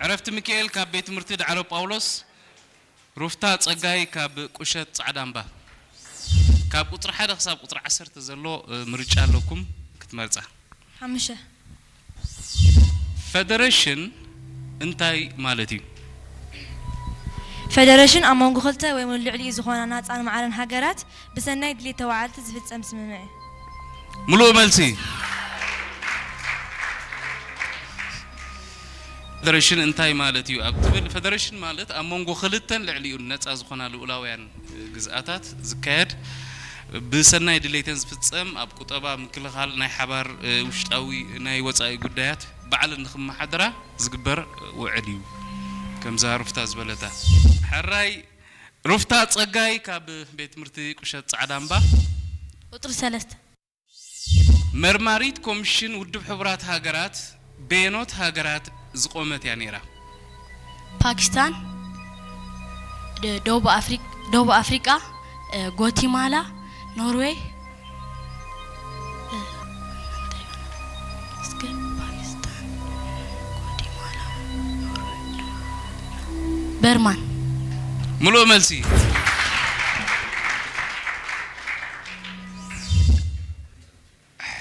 ዕረፍቲ ሚካኤል ካብ ቤት ትምህርቲ ዳዕሮ ጳውሎስ፣ ሩፍታ ጸጋይ ካብ ቁሸት ጻዕዳ እምባ። ካብ ቁጽሪ ሓደ ክሳብ ቁጽሪ ዓሰርተ ዘሎ፣ እ፣ ምርጫ ኣለኩም ክትመርጻ። ሓሙሽተ። ፈደረሽን እንታይ ማለት እዩ? ፈደረሽን ኣብ መንጎ ክልተ ወይ እውን ልዕሊኡ ዝኾና ናጻን ማዕረን ሃገራት ብሰናይ ድሌት ተዋዓልቲ ዝፍጸም ስምምዕ እዩ። ምሉእ መልሲ። ፈደረሽን እንታይ ማለት እዩ ኣብ ትብል፣ ፈደረሽን ማለት ኣብ መንጎ ክልተን ልዕሊኡን ነጻ ዝኾና ልኡላውያን ግዝኣታት ዝካየድ ብሰናይ ድሌተን ዝፍጸም፣ ኣብ ቁጠባ፣ ምክልኻል፣ ናይ ሓባር፣ እ፣ ውሽጣዊ ናይ ወጻኢ ጉዳያት ባዕለን ንኽመሓደራ ዝግበር ውዕል እዩ። ከምዛ ሩፍታ ዝበለታ። ሕራይ ሩፍታ ጸጋይ ካብ ቤት ትምህርቲ ቁሸት ጻዕዳ እምባ። ቁጽሪ ሰለስተ። መርማሪት ኮሚሽን ውድብ ሕቡራት ሃገራት በየኖት ሃገራት ዝቖመት እያ ነይራ? ፓኪስታን፣ ደ- ደቡብ ኣፍሪቃ፣ ደቡብ ኣፍሪቃ፣ እ፣ ጓቲማላ፣ ኖርዌይ፣ እ፣ እስከ ፓኪስታን፣ ጓቲማላ፣ ኖርዌይ፣ በርማን። ምሉእ መልሲ።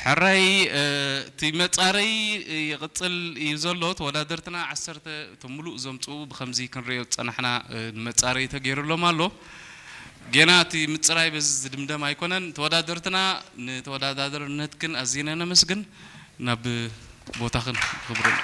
ሕራይ፣ እ፣ እቲ መጻረይ ይቕጽል እዩ ዘሎ። ተወዳደርትና ዓሰርተ እቶም ምሉእ ዘምጽኡ ብኸምዚ ክንሪኦ ዝጸናሕና፣ እ፣ መጻረይ ተገይሩሎም ኣሎ። ጌና እቲ ምጽራይ በዚ ዝድምደም ኣይኮነን። ተወዳደርትና ንተወዳዳርነትክን ኣዚና ነመስግን። ናብ ቦታኽን ክብርን